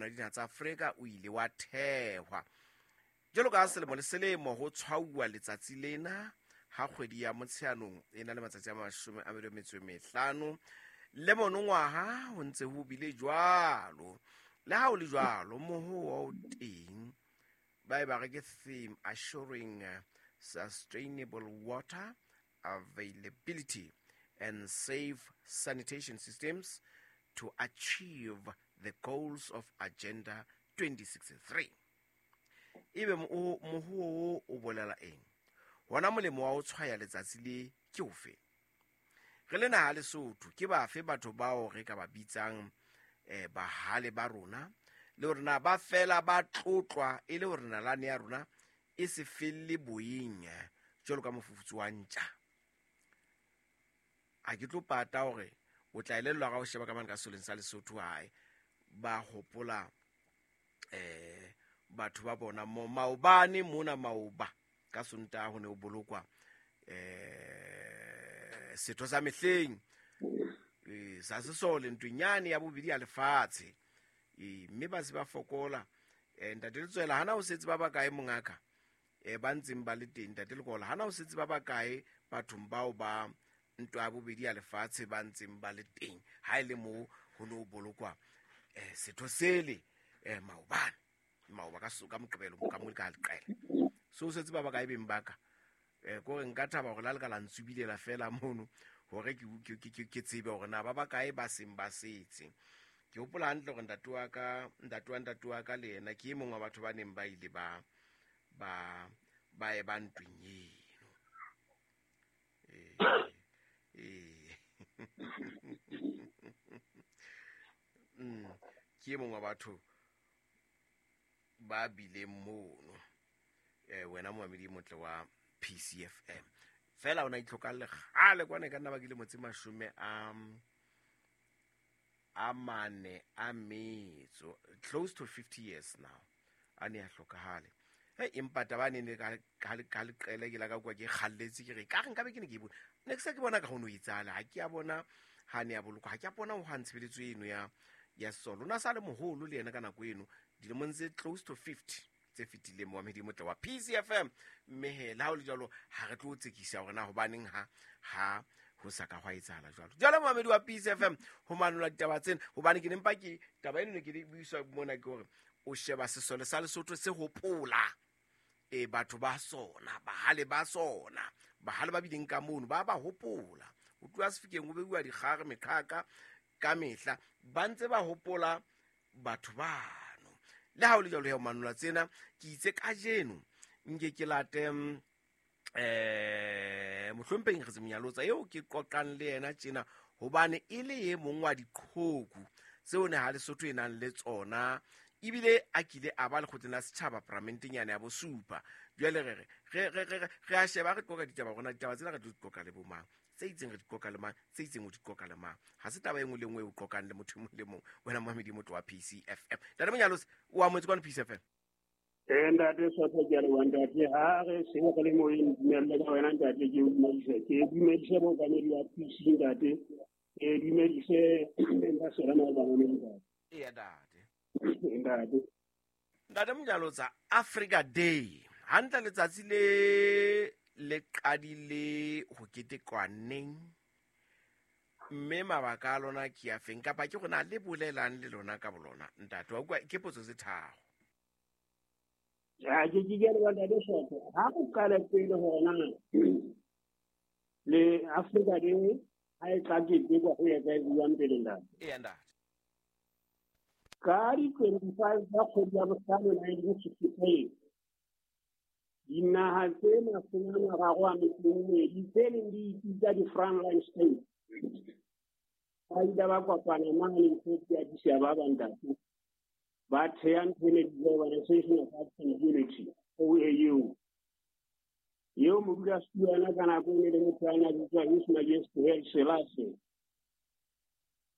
kopano ya dinaha tsa Afrika o ile wa thehwa. Jwalo ka selemo le selemo ho tshwauwa letsatsi lena ha kgwedi ya Motsheanong e na le matsatsi a 25 le monongwaha ho ntse ho bile jwalo. Le ha ho le jwalo, mohowa o teng ba e ba re ke theme assuring sustainable water availability and safe sanitation systems to achieve the goals of Agenda 2063. Ebe mohuo wo o bolela eng? Hona molemo wa ho tshwaya letsatsi le ke ofe? Re le naha Lesotho, ke bafe batho bao re ka ba bitsang bahale ba rona, le hore na ba fela ba tlotlwa e le hore nalane ya rona e se felle boyeng jwalo ka mofufutso wa ntja. A ke tlo pata hore o tla elellwa ka ho sheba ka mane ka soleng sa Lesotho hae ba hopola batho ba bona mo maobane mona maoba ka Sontaha ho ne ho bolokwa setho sa mehleng sa sesole ntweng yane ya bobedi ya lefatshe, mme ba se ba fokola. Ntate Letswela, hana ho setse ba bakae mongaka ba ntseng ba le teng? Ntate Lekola, hana ho setse ba bakae bathong bao ba ntwa ya bobedi ya lefatshe ba ntseng ba le teng ha e le moo ho ne ho bolokwa setho sele maobane maoba ka Moqebelo ka mo ka leqele so setse ba bakae beng baka kore nka thaba hore la le ka la ntsubilela fela mono hore ke tsebe hore na ba bakae ba seng ba setse. Ke hopola hantle hore ntate wa ka, ntate wa ntate wa ka le yena ke e mong wa batho ba neng ba ile ba ba ba e ba ntweng eno. Ke e mong wa batho ba bileng mono. Wena moamedi motle wa PCFM. Fela ona itlhokalle kgale kwana e ka nna ba ke motse 44 a metso, close to 50 years now a ne a hlokahale. Hey, empa taba ne ne ka leqele ke la ka kwa ke kgalletse ke re ka re nka be ke ne ke bone ne ke se ke bona ka hono etsala ha ke a bona ha ne a bolokwa, ha ke a bona ho ha ntshebeletso eno ya solo. Na sa le moholo le yena ka nako eno dilemong tse close to 50 tse fetileng moamedi motle wa PCFM. Mme he le ha o le jwalo ha re tlo tsekisa hore na hobaneng ha ho sa ka hwa etsahala jwalo. Jwale moamedi wa PCFM ho manola ditaba tsena, hobane ke nempa ke taba eno ne ke di buiswa mona ke hore o sheba sesole sa Lesotho se hopola batho ba sona, bahale ba sona, bahale ba bileng ka mono ba ba hopola. Ho tloha Sefikeng ho beuwa dikgare meqhaka ka mehla, ba ntse ba hopola batho bano. Le ha o le jwalo ya manola tsena, ke itse kajeno nke ke late mohlomphehi Nkgetse Monyalotsa eo ke qoqang le yena tjena, hobane e le e mong wa diqhoku tseo ne ha Lesotho e nang le tsona, ebile a kile a ba lekgotleng la setjhaba paramenteng yane ya bosupa. Jwale re a sheba re qoqa ditaba rona, ditaba tsena re tlo di qoqa le bo mang, tse itseng re di qoqa le mang, tse itseng o di qoqa le mang. Ha se taba e nngwe le nngwe e o qoqang le motho e mong le mong. Wena moamedi motho wa PCFM. Ntate Monyalotsa, o amohetse kwano PCFM? Ntate Sotho, ke a leboha ntate. Ha re se re le moyeng, dumelle ka wena ntate, ke o dumedise. Ke dumedise mookamedi wa PC ntate. Ke dumedise beng ba sona ba bangwe ntate. Eya ntate. Ntate. Ntate Monyalotsa, Africa Day hantle letsatsi le qadile ho ketekwa neng, mme mabaka a lona ke a feng, kapa ke rona le bolelang le lona ka bolona ntate? Wa utlwa ke potso tse tharo. Ja, ke ke le ntate Sotho. Ha o qala pele hore na le Africa Day ha e tla ketekwa ho ya ka e buang pele ntate. Eya ntate. Ka di 25 tsa kgwedi ya bohlano 1963, dinaha tse 32 tse neng di ipitsa di-frontline states ba ile ba kopana mane Ethiopia, Addis Ababa ntate, ba theha ntho e ne bitswa Organization of African Unity, OAU. Eo modulasetulo yena ka nako e ne le motho a ne a bitswa His Majesty Haile Selassie.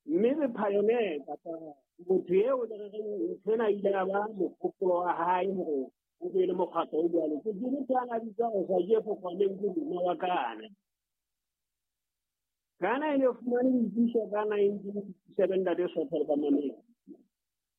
Mme the pioneer kapa motho eo le re reng ntho ena ile ya ba mohopolo wa hae hore o be le mokgatlo o jwalo, ke motho a ne a bitswa Osagyefo Kwame Nkrumah wa Ghana. Ghana e ne fumane boipuso ka 1957 ntate Sotho le bamamedi.